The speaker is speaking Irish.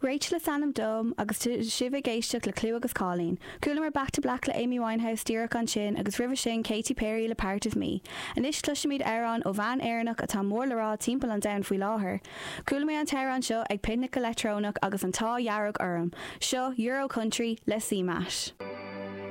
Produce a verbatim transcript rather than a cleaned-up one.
Rachel is ainm dom agus sibh ag éisteacht le Clú agus Cóilín. Chualamar Back to Black le Amy Winehouse díreach ansin agus roimhe sin Katy Perry le Part of Me. Anois cloisfimid amhrán ó bhean Éireannach atá mór le rá timpeall an domhain faoi láthair. Chuala mé an t-amhrán seo ag picnic leictreonach agus an t-ádh dearg orm. Seo Euro Country le CMAT.